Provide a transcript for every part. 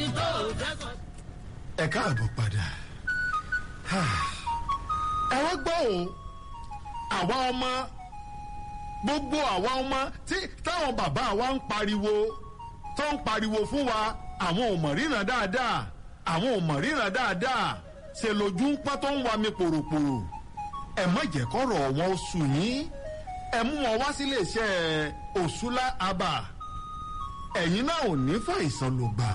Ẹni tó fẹ́ kọ́. Ẹ káàbọ̀ padà. Ẹ wá gbọ́ o, àwa ọmọ, gbogbo àwa ọmọ tí táwọn bàbá wa ń pariwo, tó ń pariwo fún wa, àwọn ò mọ̀ ríran dáadáa, àwọn ò mọ̀ ríran dáadáa, ṣe lójú ń pọ́n tó ń wa mi pòròpòrò. Ẹ má jẹ́ kọ́rọ̀ wọn ó sùn yín, ẹ mú wọn wá sílé iṣẹ́ Òṣùlá Abà. Ẹ̀yin náà ò ní fàìsàn lògbà,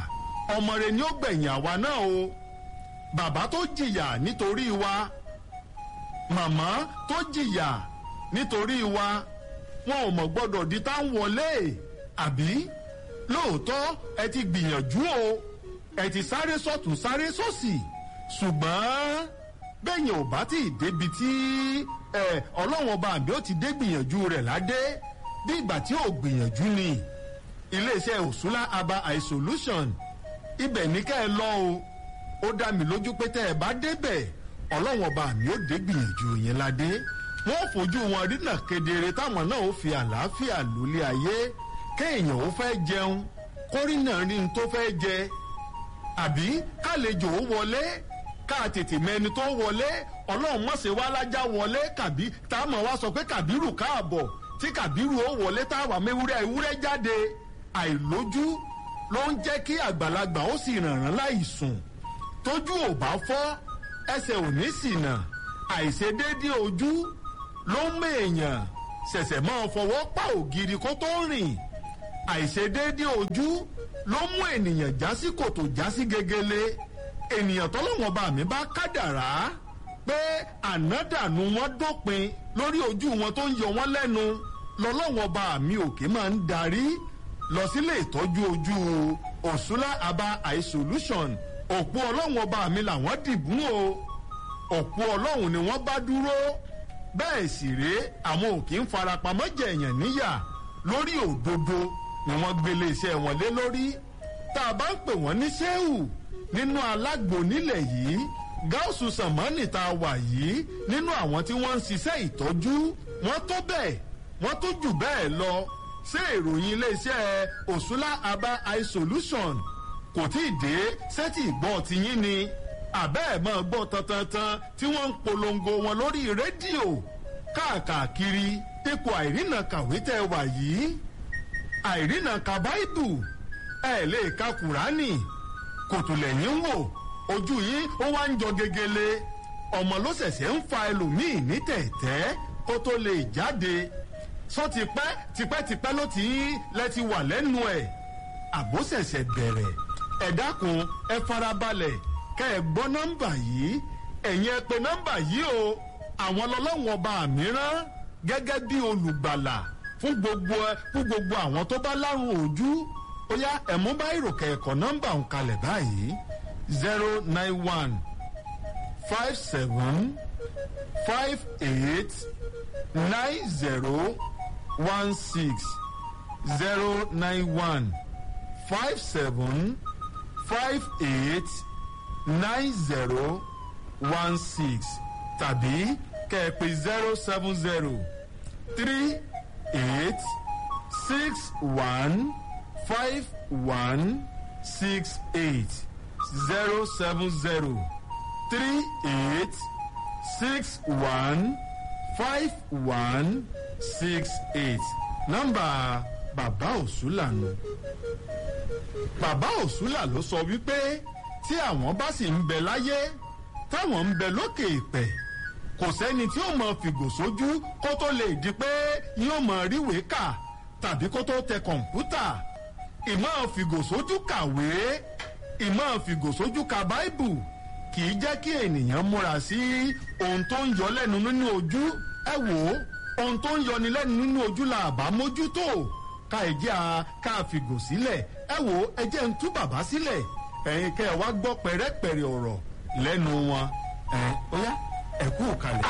ọmọ rẹ ni ó gbẹ̀yìn àwa náà o. Bàbá tó jìyà nítorí wa, màmá tó jìyà nítorí wa, wọn ò mọ̀ gbọ́dọ̀ di tá ń wọlé. Àbí lóòótọ́ ẹ ti gbìyànjú o, ẹ ti sáré sọ́tún sáré sósì, ṣùgbọ́n bẹ́yìn ò bá tí ì débi tí ẹ ọlọ́wọ́n ọba àbí ó ti dé gbìyànjú rẹ̀ ládé, bí ìgbà tí ò gbìyànjú ni. Iléeṣẹ́ Òṣùlá Aba Eye Solution, ibẹ̀ ní ká ẹ lọ o. Ó dá mi lójú pé tẹ́ ẹ bá débẹ̀, ọlọ́wọ́n ọba àmì ó dé gbìyànjú yẹn ládé, wọ́n fojú wọn rínà kedere, táwọn náà ó fi àlàáfíà lólé ayé. Kéèyàn ó fẹ́ jẹun kórìnà rí n tó fẹ́ jẹ, àbí kálejò ó wọlé ká tètè mẹni tó wọlé. Ọlọ́run mọ̀sẹ̀ wá lájà wọlé kàbí tá a mọ̀ wá sọ pé Kàbírù káàbọ̀, tí Kàbírù ó wọlé tá a wà mẹ́wúrẹ́ ewúrẹ́ jáde. Àìlójú ló ń jẹ́ kí àgbàlagbà ó sì rànràn láì sùn. Tójú ò bá fọ́, ẹsẹ̀ ò ní ṣìnà. Àìṣedéédé ojú ló ń mèèyàn ṣẹ̀ṣẹ̀ máa fọwọ́ pa ògiri kó tó rìn. Àìṣedéédé ojú ló mú ènìyàn já sí kòtò, já sí gegele. Ènìyàn tọ́lọ́wọ́n bá mi bá kádàrá pé ànádànù wọn dópin lórí ojú wọn tó ń yọ wọn lẹ́nu, lọ́lọ́wọ́n bá mi òkè máa ń darí lọ sílé ìtọ́jú ojú Òṣùlá Aba Eye Solution. Òpó ọlọ́wọ́n ọba mi làwọn dìbò o, òpó ọlọ́run ni wọ́n bá dúró. Bẹ́ẹ̀ sì rèé, àwọn ò kì í farapamọ́ jẹ̀yàn níyà, lórí òdodo ni wọ́n gbélé iṣẹ́ wọn lé lórí. Tá a bá ń pè wọ́n ní sẹ́wù nínú alágbo nílẹ̀ yìí, gáúsù sàmánì tá a wà yìí, nínú àwọn tí wọ́n ń ṣiṣẹ́ ìtọ́jú, wọ́n tó bẹ́ẹ̀, wọ́n tó jù bẹ́ẹ̀ lọ. Ṣé ìròyìn iléeṣẹ́ Òṣùlá Aba Eye Solution kò tí ì dé sẹ́tì ìgbọ́ tiyín ni? Àbẹ́ ẹ̀ máa gbọ́ tantantan tí wọ́n ń polongo wọn lórí rédíò káàkiri. Ipò àìrìnà kàwé tẹ́ wà yìí, àìrìnà ka báìbù, ẹ̀ lè ka kùránì, kòtò lẹ́yìn ń wò, ojú yín ó wá ń jọ gegele. Ọmọ ló ṣẹ̀ṣẹ̀ ń fa ẹlòmíì ní tẹ̀tẹ́ kó tó lè jáde. Sọ tipẹ́ tipẹ́tipẹ́ ló ti ń lẹ ti wà lẹ́nu ẹ̀, àbó ṣẹ̀ṣẹ̀ bẹ̀rẹ̀. Ẹ dákun, ẹ farabalẹ̀ kẹ́ ẹ gbọ́ nọ́mbà yìí. Ẹ̀yin ẹ pè nọ́mbà yìí o. Àwọn lọ́lọ́wọ́n ọba mìíràn gẹ́gẹ́ bí olùgbàlà fún gbogbo àwọn tó bá lárùn ojú. Ó yá, ẹ mú báyìí kẹ̀kọ́ nọ́mbà ń kalẹ̀ báyìí: 09157589016, 09157589016, tàbí kẹ́ ẹ pè 07038615168, 07038615168. Nọ́mbà bàbá Òṣùlà nù. Bàbá Òṣùlà ló sọ wípé tí àwọn bá sì ń bẹ láyé, táwọn ń bẹ lókè ìpẹ́, kò sẹ́ni tí ó mọ fìgò sójú kó tó lè di pé yóò mọ ríwèé kà tàbí kó tó tẹ kọ̀ǹpútà. Ìmọ̀ fìgò sójú kàwé, ìmọ̀ fìgò sójú ka báìbù kì í jẹ́ kí ènìyàn múra sí ohun tó ń yọ lẹ́nu nínú ojú. Ẹ wò ó, ohun tó ń yọni lẹ́nu nínú ojú la àbá mójútó ká ẹ jẹ́ a ká fìgò sílẹ̀. Ẹ wò ó, ẹ jẹ́ ń tú bàbá sílẹ̀, ẹ̀yin kẹ́ ẹ wá gbọ́ pẹ̀rẹ́pẹ̀rẹ́ ọ̀rọ̀ lẹ́nu wọn. Ẹ̀ ó yá, ẹ kú kalẹ̀.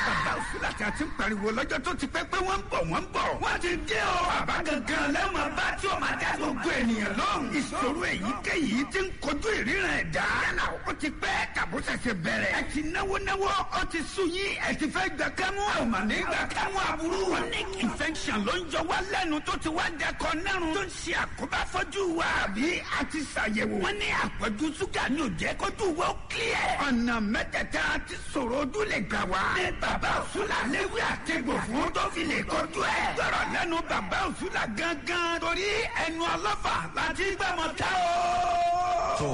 Bàbá Òṣùlà tí a ti ń pariwo lọ́jọ́ tó ti pẹ́ pé wọ́n ń bọ̀, wọ́n ń bọ̀. Wọ́n ti dé o. Bàbá gangan lẹ́wọ̀n bá tí o máa dá gbogbo ènìyàn lóhùn. Ìṣòro èyíkéyìí ti ń kojú ìríran ẹ̀dá. Yálà ó ti pẹ́ tàbí Àbúṣẹ̀ṣẹ̀ bẹ̀rẹ̀. Ẹ ti náwó náwó, ó ti sú yín, ẹ ti fẹ́ gbà kámú. A ò mà ní gbà kámú aburú. Chronic infection ló ń jọ wá lẹ́nu tó ti wá dẹkọ nárun, tó ń ṣe àkóbá fọ́jú wa. Àbí a ti ṣàyẹ̀wò. Wọ́n ní àpọ̀jù ṣúgà ní òjẹ́ kójú wa ó clear. Ọ̀nà mẹ́tẹ̀ẹ̀ta ti sọ̀rọ̀ ojú lè gbà wá. Ní bàbá Òṣùlà léwé àtẹ̀gbò fún tó fi lè kojú ẹ̀. Gbọ́rọ̀ lẹ́nu bàbá Òṣùlà gángan, torí ẹnu ọlọ́fà láti gbàmọ̀ tá o. Tó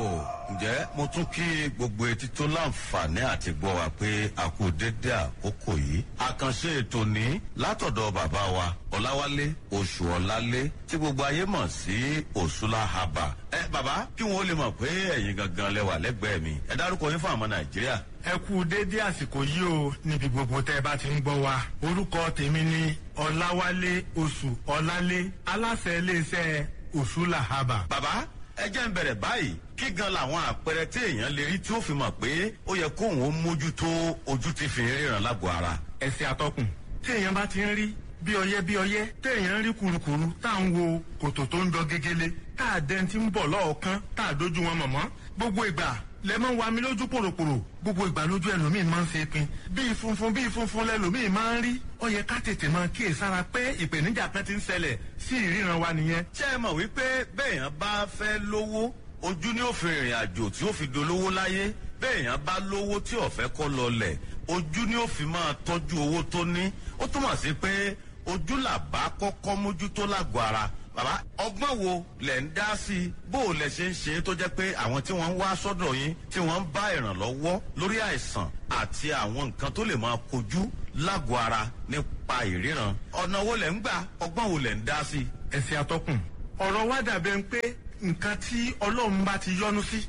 ǹjẹ́ mo tún kí gbogbo etí tó láǹfààní àti gbọ́ wa pé a kú dédé àkókò yìí. Àkànṣe ètò ní látọ̀dọ̀ bàbá wa Ọláwálé Oṣù Ọlálé tí gbogbo ayé mọ̀ sí Òṣùlá Haba. Ẹ bàbá, kí wọn ó lè mọ̀ pé ẹ̀yin gangan lẹ wà lẹ́gbẹ̀ẹ́ mi. Ẹ dárúkọ yín fún àwọn Nàìjíríà. Ẹ kú déédéé àsìkò yìí o níbi gbogbo tẹ́ ẹ bá ti ń gbọ́ wa. Orúkọ tèmi ni Ọláwálé Oṣù Ọlálé, aláṣẹ iléeṣẹ́ Òṣùlà Haba. Bàbá, ẹ jẹ́ ń bẹ̀rẹ̀ báyìí. Kí gan làwọn àpẹẹrẹ tí èèyàn lè rí tí ó fi mọ̀ pé ó yẹ kóun ó mójútó ojú ti fi ríran lágọ̀ọ́ ara? Ẹsẹ̀ atọ́kùn, tí èèyàn bá ti ń rí bí ọyẹ́ bí ọyẹ́, téèyàn ń rí kurukuru, tá à ń wo kòtò tó ń jọ gegele, tá à dẹ́n ti ń bọ̀ lọ́ọ̀kan, tá à dójú wọn mọ̀mọ́, gbogbo ìgbà lẹ máa ń wa mi lójú pòròpòrò, gbogbo ìgbà lójú ẹlòmíì máa ń ṣe pin bíi funfun bíi funfun lẹlòmíì máa ń rí. Ó yẹ ká tètè máa kíyè sára pé ìpèníjà kan ti ń ṣẹlẹ̀ sí ìríran wa nìyẹn. Ṣé ẹ mọ̀ wípé bẹ́ẹ̀yàn bá fẹ́ lówó, ojú ni ó fi rìnrìn àjò tí ó fi dolówó láyé? Bẹ́ẹ̀yàn bá lówó tí ó fẹ́ kó lọlẹ̀, ojú ni ó fi máa tọ́jú owó tó ní. Ó túmọ̀ sí pé ojú làbá kọ́kọ́ mójútó lágọ̀ọ́ ara. Bàbá, ọgbọ́n wo lẹ̀ ń dá sí i? Bó o lẹ̀ ṣe ń ṣe é tó jẹ́ pé àwọn tí wọ́n ń wá sọ́dọ̀ yín, tí wọ́n ń bá ìrànlọ́wọ́ lórí àìsàn àti àwọn nǹkan tó lè máa kojú lágọ̀ọ́ ara nípa ìríran, ọ̀nà wo lẹ̀ ń gbà? Ọgbọ́n wo lẹ̀ ń dá sí i? Ẹsẹ̀ atọ́kùn, ọ̀rọ̀ wa dàbẹ̀ ń pé nǹkan tí Ọlọ́run bá ti yọ́nú sí,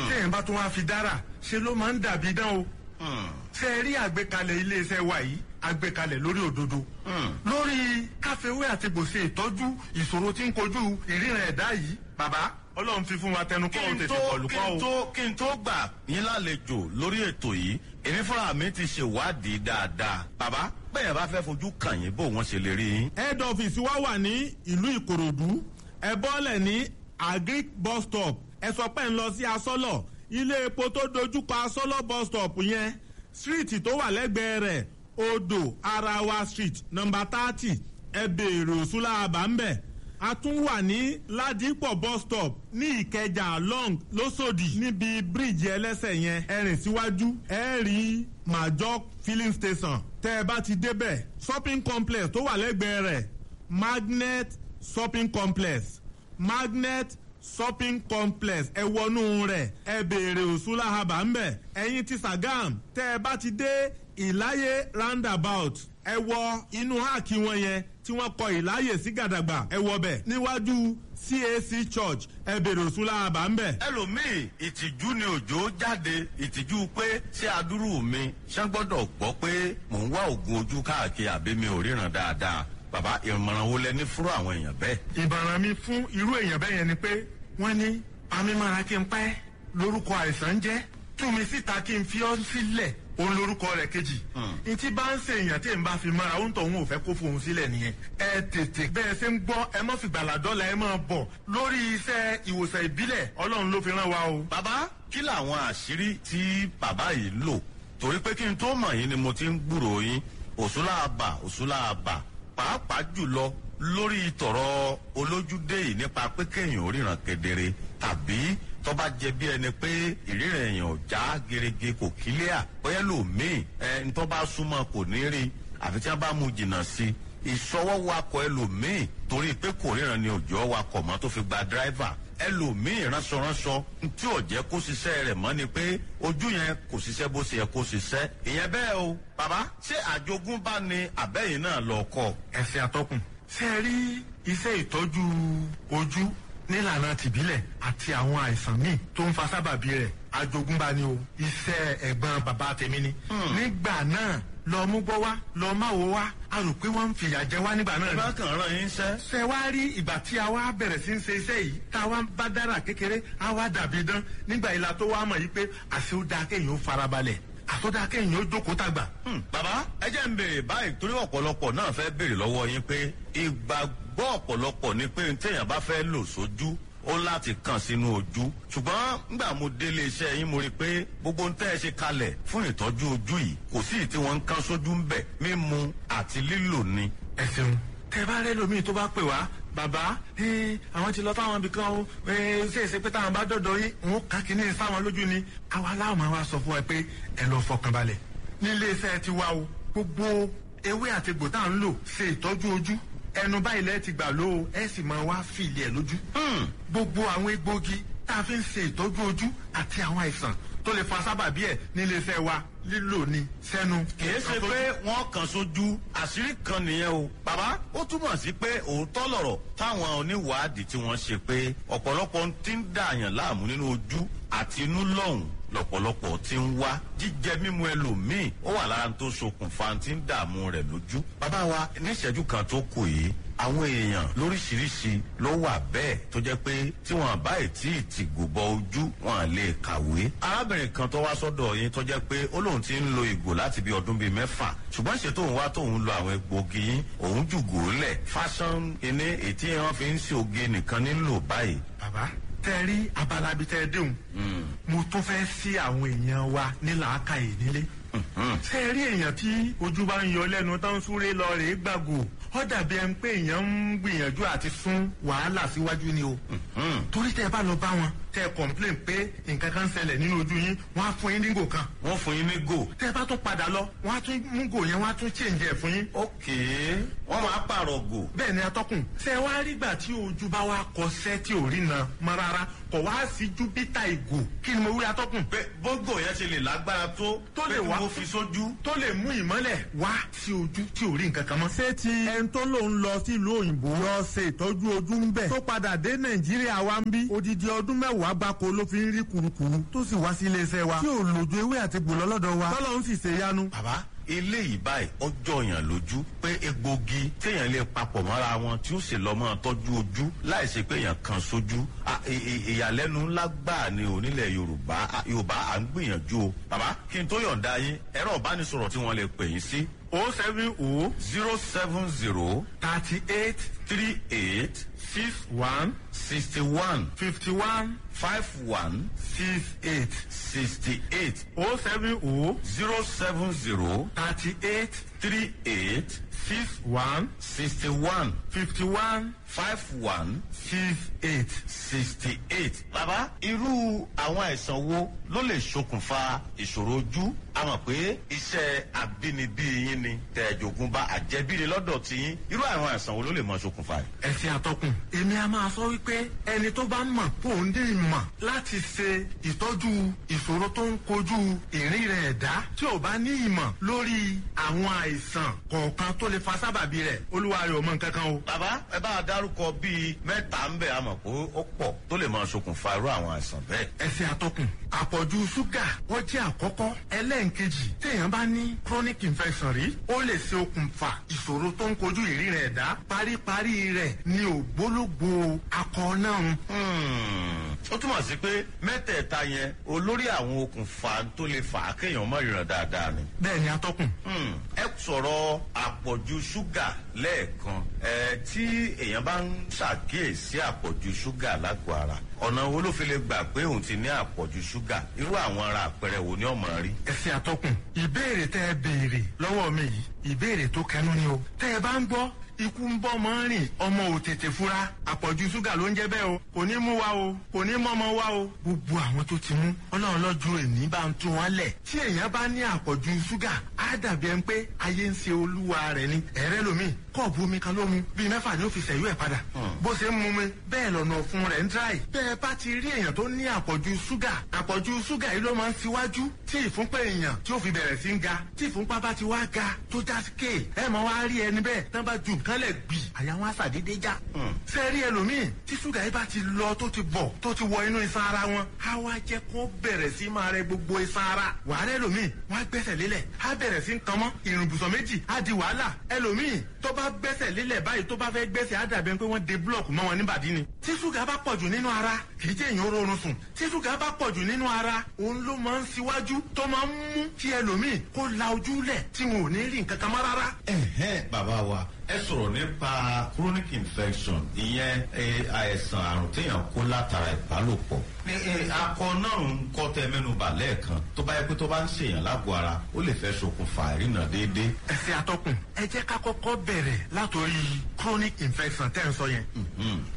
téèyàn bá tún wá fi dára ṣe, ló máa ń dàbí dán o. Ṣe é rí àgbékalẹ̀ iléeṣẹ́ wa yìí, àgbékalẹ̀ lórí òdodo, lórí káfíwé àti gbòsè ìtọ́jú ìṣòro tí ń kojú ìríran ẹ̀dá yìí. Bàbá, Ọlọ́run fi fún wa tẹnu kọ́ ò tètè kọlù kí kọ́ n o. tó kí n tó gbà yín lálejò lórí ètò yìí, èmi fúnra mi ti ṣèwádìí dáadáa. Bàbá, bẹ́ẹ̀ bá fẹ́ fojú kàn yín, bó wọ́n ṣe lè rí yín? Head office wa wà ní ìlú Ìkòròdú. Ẹ bọ́lẹ̀ ní Agric bus stop, ẹ sọ pé ń lọ sí Asọ́lọ̀. Ilé epo tó dojúkọ Asọ́lọ̀ bus stop yẹn, street tó wà lẹ́gbẹ̀ẹ́ rẹ̀, Odò Arawa Street, number 30, ẹ béèrè Òṣùlá àbámbẹ̀. A tún wà ní Ládìpọ̀ bus stop ní Ìkẹjà long lọ́sọ̀dì, níbi bíríìjì ẹlẹ́sẹ̀ yẹn, ẹ rìn síwájú, ẹ rí Major filling station. Tẹ́ ẹ bá ti débẹ̀, shopping complex tó wà lẹ́gbẹ̀ẹ́ rẹ̀, Magnet shopping complex, Magnet shopping complex, ẹ wọnú rẹ̀, ẹ béèrè Òṣùlá Haba ńbẹ̀. Ẹ̀yin ti Sagam, tẹ́ ẹ bá ti dé Ìláyé roundabout, ẹ wọ inú háàkì wọn yẹn tí wọ́n kọ Ìláyè sí gàdàgbà, ẹ wọ bẹ̀ níwájú CAC church, ẹ béèrè Òṣùlá Haba ńbẹ̀. Ẹlòmíì, ìtìjú ni òjò jáde, ìtìjú pé ṣé adúrú mi ṣé gbọ́dọ̀ gbọ́ pé mò ń wá oògùn ojú káàkiri àbí mi ò ríran dáadáa? Bàbá, ìmọ̀ràn wo lẹ ní fúrú àwọn èèyàn bẹ́ẹ̀? Ìbàràn mi fún irú èèyàn bẹ́ẹ̀ yẹn ni pé wọ́n ní pamímọ́ra kí n pẹ́ lórúkọ àìsàn jẹ́, tú mi síta kí n fi ọ́ sílẹ̀ òun lórúkọ rẹ̀ kejì. Ntí bá ń ṣe èèyàn tí n bá fi mọ́ra, ó ń tọ̀ òun ò fẹ́ kó fohùn sílẹ̀ nìyẹn. Ẹ tètè bẹ́ẹ̀ ṣe ń gbọ́, ẹ mọ́ fìgbàlà dọ́là, ẹ máa bọ̀ lórí iṣẹ́ ìwòsàn ìbílẹ̀. Ọlọ́run ló fi rán wa o. Bàbá, kí làwọn àṣírí tí bàbá yìí lò? Torí pé kí n tó mọ̀ yín ni mo ti ń gbúròó yín, Òṣùlá àbà, Òṣùlá àbà, pàápàá jùlọ lórí tọ̀rọ̀ olójúdé yìí, nípa pé kéèyàn ò ríran kedere tàbí tó bá jẹ bí ẹni pé ìríran èèyàn ò já gerege, kò kílíà, bóyá lòmíì ẹ ń tó bá súnmọ́ kò ní rí àfi tí wọ́n bá mú jìnnà sí i. Ìṣọwọ́ wakọ̀ ẹlòmíì, torí pé kò ríran ni òjò wakọ̀ mọ́ tó fi gba dráìvà. Ẹlòmíì, ránṣọránṣọ tí ò jẹ́ kó ṣiṣẹ́ rẹ̀ mọ́ ni pé ojú yẹn kò ṣiṣẹ́ bó ṣe yẹ kó ṣiṣẹ́. Ìyẹn bẹ́ẹ̀ o. Bàbá, ṣé àjogúnbá ni àbẹ́yìn náà lọ kọ́? Ẹsẹ̀ atọ́kùn, ṣe é rí iṣẹ́ ìtọ́jú ojú nílànà tìbílẹ̀ àti àwọn àìsàn míì tó ń fa sábàbí rẹ̀, àjogúnbá ni o. Iṣẹ́ ẹ̀gbọ́n bàbá tèmi ni. Nígbà náà, lọ mú gbọ́ wá, lọ má wo wá, a rò pé wọ́n ń fìyà jẹ wá nígbà náà Ẹ ni. bá kàn rán yín ṣẹ́. Ṣe wá rí ìgbà tí a wá bẹ̀rẹ̀ sí ń ṣe iṣẹ́ yìí, tá a wá ń bá dára kékeré, a wá dàbí dán nígbà ìlà tó wá mọ̀ yìí pé àṣé ó dáa kéèyàn ó farabalẹ̀, àtọ́dá kéèyàn ó jókòó tàgbà. Bàbá, ẹ jẹ́ ń béèrè báyìí, torí ọ̀pọ̀lọpọ̀ náà fẹ́ béèrè lọ́wọ́ yín pé ìgbàgbọ́ ọ̀pọ̀lọpọ̀ ni pé téèyàn bá fẹ́ lò sójú Ó láti kàn sínú ojú. Ṣùgbọ́n nígbà mo délé iṣẹ́ yín, mo rí i pé gbogbo ń tẹ́ ẹ ṣe kalẹ̀ fún ìtọ́jú ojú yìí, kò sí tí wọ́n ń kán sójú ń bẹ̀, mímu àti lílò ni. Ẹ ṣeun. Tẹ bá rẹ lómi tó bá pè wá, bàbá, àwọn ti lọ táwọn ibì kan o, ṣe é ṣe pé táwọn bá dọ̀dọ̀ yín, òun kà kínní sáwọn lójú ni. Àwa láwọn máa wá sọ fún ẹ pé ẹ lọ fọkàn balẹ̀ nílé iṣẹ́ ti wá o. Gbogbo ewé àti egbò tá à ń lò ṣe ìtọ́jú ojú, ẹnu báyìí lẹ́ẹ̀ ti gbà ló o, ẹ sì máa wá fìlì ẹ̀ lójú. Gbogbo àwọn egbòogi tá a fi ń ṣe ìtọ́jú ojú àti àwọn àìsàn tó lè fa sábàbí ẹ̀ nílé iṣẹ́ wa, lílò ni sẹ́nu. Kìí ṣe pé wọ́n kàn sójú. Àṣírí kan nìyẹn o, bàbá. Ó túmọ̀ sí pé òótọ́ lọ̀rọ̀ táwọn oníwàádìí tí wọ́n ṣe pé ọ̀pọ̀lọpọ̀ ti ń dààyàn láàmú nínú ojú àti inú lọ́hùn lọ́pọ̀lọpọ̀ ti ń wá jíjẹ mímu ẹlòmíì, ó wà lára tó ṣokùnfà tí ń dààmú rẹ̀ lójú. Bàbá wa, níṣẹ́jú kan tó kù yìí, àwọn èèyàn lóríṣiríṣi ló wà bẹ́ẹ̀ tó jẹ́ pé tí wọ́n bá ètí ìtìgò bọ ojú, wọn lè kàwé. Arábìnrin kan tó wá sọ́dọ̀ yín tó jẹ́ pé ó lóun ti ń lo ìgò láti bí ọdún bíi 6, ṣùgbọ́n ṣe tóun wá tóun lo àwọn egbòogi yín, òun jùgò lẹ̀, fashion kíní ètí wọn fi ń ṣe oge nìkan nílò báyìí. Bàbá, tẹ rí abala bíi tẹ déhùn, mo tún fẹ́ sí àwọn èèyàn wa ní làákàyè nílé. Ṣé rí èèyàn tí ojú bá ń yọ lẹ́nu tó ń súré lọ rèé gbàgò, ó dàbí ẹni pé èèyàn ń gbìyànjú àti sún wàhálà síwájú ni o. Torí tẹ bá lọ bá wọn, tẹ complain pé nǹkan kan ń ṣẹlẹ̀ nínú ojú yín, wọ́n á fún yín ní gò kan. Wọ́n fún yín ní gò. Tẹ bá tún padà lọ, wọ́n á tún mú gò yẹn, wọ́n á tún change ẹ̀ fún yín. Ok, wọ́n máa pààrọ̀ gò. Bẹ́ẹ̀ ni, atọ́kùn. Ṣé wàá rí gbà tí ojú bá wá kọsẹ́ tí ò rí na mọ́ rárá, kò wá sí júpítà ìgò? Kí ni mo wí, atọ́kùn? Pé bógò yẹn ṣe lè lágbára tó. Tó lè pé kí wá mo fi sójú. Tó lè mú ìmọ́lẹ̀ wá sí ojú tí ò rí nǹkan kan mọ́. Ṣé ti ẹni tó lòun lọ sílùú òyìnbó lọ ṣe ìtọ́jú ojú ń bẹ̀, tó padà dé Nàìjíríà wa ń bí, odidi ọdún 10 gbáko ló fi ń rí kurukuru, tó sì wá sí iléeṣẹ́ wa tí ò lòjú ewé àti gbòlọ́ lọ́dọ̀ wa, tọ́lọ́ ń sì ṣe yanu? Bàbá, eléyìí báyìí ọjọ́ yàn lójú pé egbògi téèyàn lè papọ̀ mọ́ra wọn tí ó sì lọ́ mọ́ tọ́jú ojú láì ṣe pé èèyàn kan sójú. Ìyàlẹ́nu ńlá gbáà ni onílẹ̀ Yorùbá. Yorùbá à ń gbìyànjú o. Bàbá, kí n tó yọ̀ǹda yín, ẹ̀rọ ìbánisọ̀rọ̀ tí wọ́n lè pè yín sí? 070 070 38 38 61 61 51 51 68. 68. 070 070 38 38 61 61 51 51 68. 68. Bàbá, irú àwọn àìsàn wo ló lè ṣokùnfà ìṣòro ojú? A mọ̀ pé iṣẹ́ àbínibí yín ni tẹ̀jọ̀gúnba àjẹbíni lọ́dọ̀ tí yín. Irú àwọn àìsàn wo ló lè mọ ṣokùnfà rẹ̀? Ẹ ṣe, àtọkùn. Èmi a máa sọ wípé ẹni tó bá mọ̀ kó ń dé ìmọ̀ láti ṣe ìtọ́jú ìṣòro tó ń kojú ìrìn rẹ̀ ẹ̀dá, tí ò bá ní ìmọ̀ lórí àwọn àìsàn kọ̀ọ̀kan tó lè fa sábàbí rẹ̀, olúwa rẹ̀ ò mọ nǹkan kan o. Bàbá, ẹ bá a dárúkọ bíi mẹ́ta ń bẹ̀, a mọ̀ pé ó pọ̀ tó lè máa ṣokùnfà irú àwọn àìsàn bẹ́ẹ̀. Ẹ ṣe, àtọkùn. Àpọ̀jù ṣúgà, ó jẹ́ àkọ́kọ́. Ẹlẹ́ǹkejì, téèyàn bá ní chronic infection rí, ó lè ṣe okùnfà ìṣòro tó ń kojú ìríran ẹ̀dá. Paríparí rẹ̀ ni ògbólógbòó akọ náà. Ó túmọ̀ sí pé mẹ́tẹ̀ẹ̀ta yẹn, olórí àwọn okùnfà tó lè fà á kéèyàn má ríran dáadáa ni. Bẹ́ẹ̀ ni, atọ́kùn. Ẹ sọ̀rọ̀ àpọ̀jù ṣúgà lẹ́ẹ̀kan. Ẹ tí èèyàn bá ń ṣàkíyèsí àpọ̀jù ṣúgà lágọ̀ọ́ ara, ọ̀nà wo ló fi lè gbà pé òun ti ní àpọ̀jù ṣúgà? Irú àwọn ara àpẹẹrẹ wo ni ọmọ rí? Ẹ ṣe, àtọkùn. Ìbéèrè tẹ ẹ béèrè lọ́wọ́ mi yìí, ìbéèrè tó kẹnu ni o. Tẹ ẹ bá ń gbọ́ ikú ń bọ́ mọ́ rìn, ọmọ ò tètè fura, àpọ̀jù ṣúgà ló ń jẹ́ bẹ́ẹ̀ o. Kò ní mú wa o, kò ní mọ́mọ wa o. Gbogbo àwọn tó ti mú, Ọlọ́run lọ́jọ́ èní bá ń tún wọn lẹ̀. Tí èèyàn bá ní àpọ̀jù ṣúgà, á dàbí ẹni pé ayé ń ṣe olúwa rẹ̀ ni. Ẹ̀rẹ́ lomi, kọ́ọ̀bù omi kan ló mu, bíi 6 ni ó fi ṣẹ̀yú ẹ̀ padà. Bó ṣe ń mu mi bẹ́ẹ̀ lọ́nà ọ̀fun rẹ̀ ń dráì. Bẹ́ẹ̀ bá ti rí èèyàn tó ní àpọ̀jù ṣúgà, àpọ̀jù ṣúgà yìí ló máa ń ṣíwájú tí ìfúnpá èèyàn tí ó fi bẹ̀rẹ̀ sí ń ga. Tí ìfúnpá bá ti wá ga tó já ké, ẹ máa wá rí ẹni bẹ́ẹ̀ tán bá ju nǹkan lẹ̀ gbì, àyà wọn á ṣàdédé já. Ṣé rí ẹlòmíì tí ṣúgà yìí bá ti lọ, tó ti bọ̀, tó ti wọ inú iṣan ara wọn, á wá jẹ́ kó bẹ̀rẹ̀ sí máa rẹ gbogbo iṣan ara. Wàhálà, ẹlòmíì wọn á gbẹ́sẹ̀ lélẹ̀, á bẹ̀rẹ̀ sí ń kan mọ́ ìrìnbùsọ̀ méjì, á di wàhálà. Ẹlòmíì tó bá gbẹ́sẹ̀ lélẹ̀ báyìí, tó bá fẹ́ gbẹ́sẹ̀, á dàbí ẹni pé wọ́n de búlọ̀kù mọ́ wọn níbàdí ni. Tí ṣúgà bá pọ̀jù nínú ara, kì í jẹ́ èèyàn oorun sùn. Tí ṣúgà bá pọ̀jù nínú ara, òun ló máa ń ṣíwájú tó máa ń mú kí ẹlòmíì kó la ojú lẹ̀ tí wọn ò ní rí nǹkan kan mọ́ rárá. Ẹ̀hẹ́n, bàbá wa, ẹ Ẹ sọ̀rọ̀ nípa chronic infection, ìyẹn àìsàn àrùn téèyàn kó látara ìbálòpọ̀. Ní akọ náà ń kọ́ tẹ mẹ́nubà lẹ́ẹ̀kan, tó bá yẹ pé tó bá ń ṣèyàn lágọ̀ọ́ ara, ó lè fẹ́ ṣokùnfà ìrìnà déédéé. Ẹ ṣe, atọ́kùn. Ẹ jẹ́ ká kọ́kọ́ bẹ̀rẹ̀ látòrí chronic infection tẹ́ ń sọ yẹn,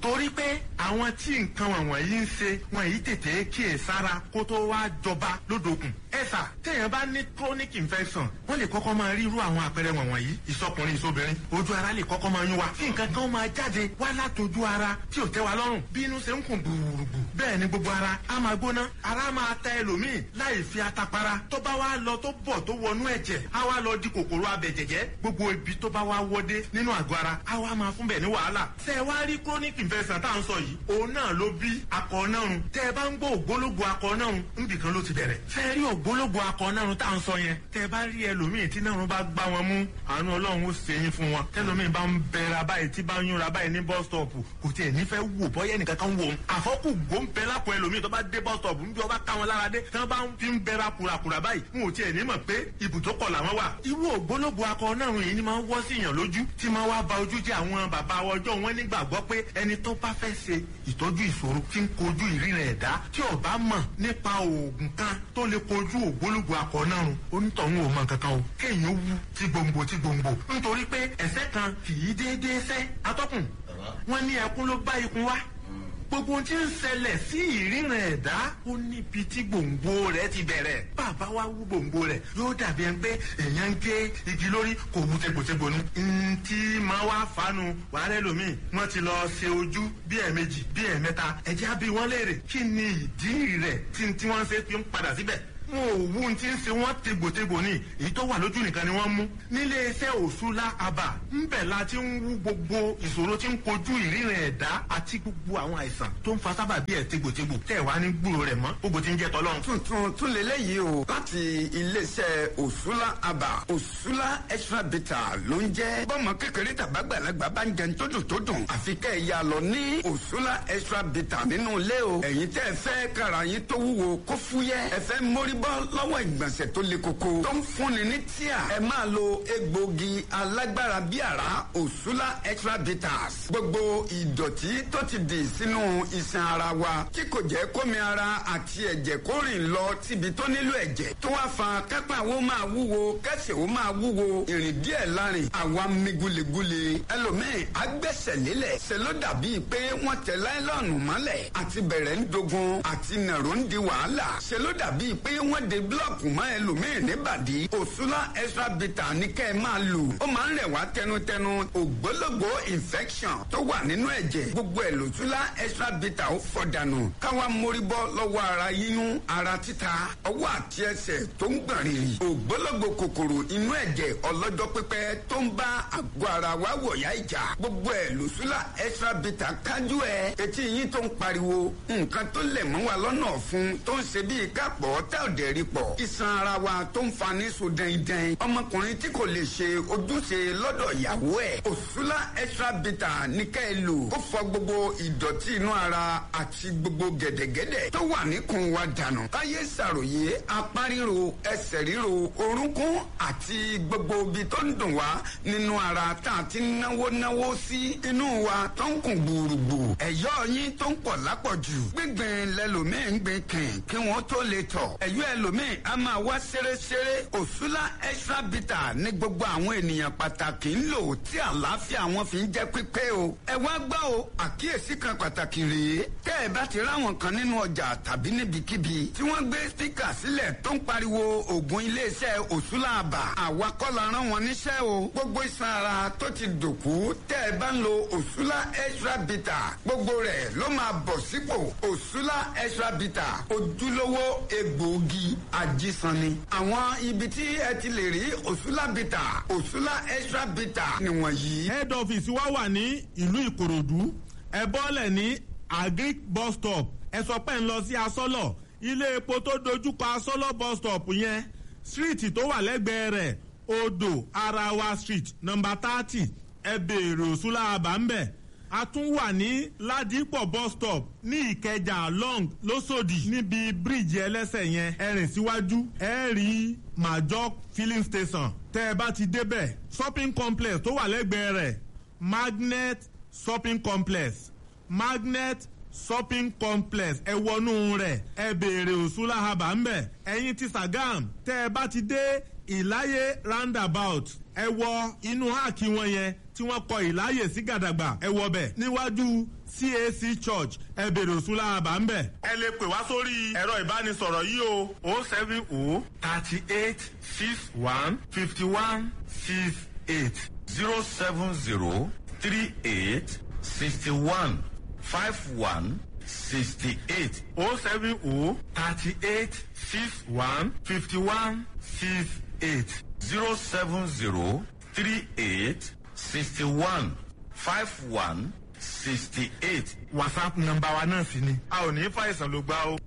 torí pé àwọn tí nǹkan wọ̀nyí ń ṣe wọn yìí tètè kíyè sára kó tó wá jọba lódòkun. Ẹ sà, téèyàn bá ní chronic infection, wọ́n lè kọ́kọ́ máa rí irú àwọn àpẹẹrẹ wọ̀nyí. Ìsọkùnrin, ìsobìnrin, ojú ara lè kọ́kọ́ máa yún wa, kí nǹkan kan máa jáde wá látọjú ara tí ò tẹ́ wa lọ́rùn. Bí inú ṣe ń kùn gbùrùgbù, bẹ́ẹ̀ ni gbogbo ara á máa gbóná, ara máa ta ẹlòmíì láì fi atapara. Tó bá wá lọ, tó bọ̀, tó wọnú ẹ̀jẹ̀, á wá lọ di kòkòrò abẹ̀jẹ̀jẹ̀. Gbogbo ibi tó bá wá wọdé nínú àgọ́ ara, á wá máa fún bẹ̀ ní wàhálà. Ṣé ẹ wá rí chronic infection tá à ń sọ yìí, òun náà ló bí akọ nárun. Tẹ́ ẹ bá ń gbọ́ ògbólógbò akọ nárun, nbìkan ló ti bẹ̀rẹ̀. Ṣé ẹ rí ògbólógbò akọ nárun tá à ń sọ yẹn, tẹ́ ẹ bá rí ẹlòmíì tí nárun bá gbá wọn mú, àánú Ọlọ́run ó ṣe yín fún wọn. Tẹ́lòmíì bá ń bẹ̀rẹ̀ báyìí, tí bá ń yúnra báyìí ní bus stop, kò tiẹ̀ nífẹ̀ẹ́ wò bọ́yẹ́ nìkan kan wò ó. Àfọ́kù gbó ń bẹ lápò ẹlòmíì tó bá dé bus stop, ń bí ọba ká wọn lára dé, tí wọ́n bá ń fi ń bẹ̀rẹ̀ kùràkùrà báyìí, wọn ò tiẹ̀ ní mọ̀ pé ibùdókọ̀ làwọn wà. Irú ògbólógbò akọ náà yìí ni máa ń wọ́ sí èèyàn lójú, tí máa wá ba ojú jẹ́. Àwọn bàbá ọjọ́ wọn nígbàgbọ́ pé ẹni tó bá fẹ́ ṣe ìtọ́jú ìṣòro tí ń kojú ìríran ẹ̀dá, tí ó bá mọ̀ nípa oògùn kan tó lè kojú ògbólógbò akọ náà rùn, onítọ̀hún ò mọ̀ nǹkan kan o. Kéèyàn wú tí gbòǹgbò tí gbòǹgbò, nítorí pé ẹ̀sẹ̀ kan kì í déédéé sẹ́. Atọ́kùn, wọn ní ẹkún ló bá ikun wá. Gbogbo ohun tí ń ṣẹlẹ̀ sí ìríran ẹ̀dá, ó níbi tí gbòǹgbò rẹ̀ ti bẹ̀rẹ̀. Bàbá wa wú gbòǹgbò rẹ̀, yóò dàbí ẹni pé èèyàn ń gé igi lórí, kò wú tegbòtegbò nu. Ntí máa wá fanu wàhálẹ́ lomi, wọ́n ti lọ ṣe ojú bí ẹ̀ẹ̀mejì, bí ẹ̀ẹ̀mẹ́ta. Ẹ̀jẹ̀ á bí wọ́n léèrè kí ni ìdí rẹ̀ tí wọ́n ṣe fi ń padà síbẹ̀. Wọn ò wú ti ń ṣe wọ́n tegbòtegbò ní, èyí tó wà lójú nìkan ni wọ́n mú. Nílé iṣẹ́ Òṣùlá Àbà ńbẹ̀ la ti ń wú gbogbo ìṣòro tí ń kojú ìríran ẹ̀dá àti gbogbo àwọn àìsàn tó ń fa sábà bí ẹ̀ tegbòtegbò tẹ̀ wá ní gbúrò rẹ̀ mọ́. Gbogbo ti ń jẹ́ tọ́lọ́run. Tuntun tún lélẹ́yìí o láti iléeṣẹ́ Òṣùlá Àbà. Òṣùlá Extra Bitter ló ń jẹ́. Bọ́mọ kékeré tàbágbàlagbà bá ń jẹun tó dùn tó dùn, àfi kẹ́ ẹ̀ ya lọ ní Òṣùlá Extra Bitter nínú ilé o. Ẹ̀yin tẹ́ ẹ fẹ́ kára yín tó wúwo kó fúyẹ́, ẹ fẹ́ mórí bọ́ lọ́wọ́ ìgbọ̀nsẹ̀ tó le koko tó ń fúnni ní tíà, ẹ máa lo egbògi alágbára bí àrá Òṣùlá Extra Bitters. Gbogbo ìdọ̀tí tó ti dì sínú iṣan ara wa tí kò jẹ́ kómi ara àti ẹ̀jẹ̀ kó rìn lọ síbi tó nílò ẹ̀jẹ̀, tó wá fa kápá wo máa wúwo, kẹsẹ̀ wo máa wúwo, ìrìn díẹ̀ lárin àwa mi gulegule. Ẹlòmíì agbẹ́sẹ̀ lélẹ̀, ṣe ló dàbí pé wọ́n tẹ láìlọ́ọ̀nù mọ́lẹ̀, àti bẹ̀rẹ̀ ń dogun, àti nàró ń di wàhálà, ṣe ló dàbí pé wọ́n de búlọ̀kù mọ́ ẹlòmíì níbàdí. Òṣùlá Extra Bitter ní kẹ́ ẹ máa lò. Ó máa ń rẹ̀ wá tẹnutẹnu. Ògbólógbò infection tó wà nínú ẹ̀jẹ̀, gbogbo ẹ̀ lòṣùlá Extra Bitter ó fọ̀ dànù. Káwa mórí bọ́ lọ́wọ́ ara yíyún, ara títa, ọwọ́ àti ẹsẹ̀ tó ń gbọ̀n rìrì, ògbólógbò kòkòrò inú ẹ̀jẹ̀ ọlọ́jọ́ pípẹ́ tó ń bá àgọ́ ara wa wọ̀yá ìjà, gbogbo ẹ̀ lòṣùlá Extra Bitter kájú ẹ̀. Etí yín tó ń pariwo, nǹkan tó lẹ̀ mọ́ wa lọ́nà ọ̀fun tó ń ṣe bíi kápọ̀ tá ò dẹ̀ rí pọ̀, iṣan ara wa tó ń fa ní so dẹ́ndẹ́n, ọmọkùnrin tí kò lè ṣe ojúṣe lọ́dọ̀ ìyàwó ẹ̀, Òṣùlá Extra Bitter ní ká ẹ lò. Ó fọ gbogbo ìdọ̀tí inú ara àti gbogbo gẹ̀dẹ̀gẹ̀dẹ̀ tó wà níkùn wa dànù. Káyé ṣàròyé apá ríro, ẹsẹ̀ ríro, orúnkún àti gbogbo ibi tó ń dùn wá nínú ara tá a ti náwó náwó sí inú wa tó ń kùn gbùrùgbù, ẹ̀yọ́ yín tó ń pọ̀ lápọ̀jù, gbígbìn lẹ́lòmíì ń gbìn kìn kí wọ́n tó lè tọ̀, ẹ̀yọ́ ẹlòmíì a máa wá ṣeréṣeré. Òṣùlá Extra Bitter ní gbogbo àwọn ènìyàn pàtàkì ń lò tí àlàáfíà wọn fi ń jẹ́ pípé o. Ẹ wá gbọ́ o, àkíyèsí kan pàtàkì rèé. Tẹ́ ẹ bá ti ráwọn kan nínú ọjà tàbí níbikíbi tí wọ́n gbé spíkà sílẹ̀ tó ń pariwo oògùn iléeṣẹ́ Òṣùlá Àbà, àwa kọ́ la rán wọn níṣẹ́ o. Gbogbo iṣan ara tó ti dòkú, tẹ́ ẹ bá ń lo Òṣùlá Extra Bitter, gbogbo rẹ̀ ló máa bọ̀ sípò. Òṣùlá Extra Bitter, ojúlówó egbòogi ajísanni. Àwọn ibi tí ẹ ti lè rí Òṣùlá Bitter, Òṣùlá Extra Bitter nìwọ̀nyí. Head office wa wà ní ìlú Ìkòròdú. Ẹ bọ́lẹ̀ ní Agric bus stop, ẹ sọ pé ń lọ sí Asọ́lọ̀, ilé epo tó dojúkọ Asọ́lọ̀ bus stop yẹn, street tó wà lẹ́gbẹ̀ẹ́ rẹ̀, Odò Arawa Street, number 30. Ẹ béèrè Òṣùlá Àbá ń bẹ̀. A tún wà ní Ládìpọ̀ bus stop ní Ìkẹjà long lóṣòdì, níbi bíríìjì ẹlẹ́sẹ̀ yẹn, ẹ rìn síwájú, ẹ rí Major filling station. Tẹ́ ẹ bá ti débẹ̀, shopping complex tó wà lẹ́gbẹ̀ẹ́ rẹ̀, Magnet shopping complex, Magnet shopping complex, ẹ wọnú rẹ̀, ẹ béèrè Òṣùlá Haba ńbẹ̀. Ẹ̀yin ti Sagam, tẹ́ ẹ bá ti dé Ìláyé roundabout, ẹ wọ inú háàkì wọn yẹn tí wọ́n kọ Ìláyè sí gàdàgbà, ẹ wọ bẹ̀ níwájú CAC church, ẹ béèrè Òṣùlá Haba ńbẹ̀. Ẹ lè pè wá sórí ẹ̀rọ ìbánisọ̀rọ̀ yìí o: 070 38 61 51 68. 07038615168. 070 38 61 51 68. 07038615168. WhatsApp nọ́mbà wa náà sì ni. A ò ní fàìsàn ló gbá o.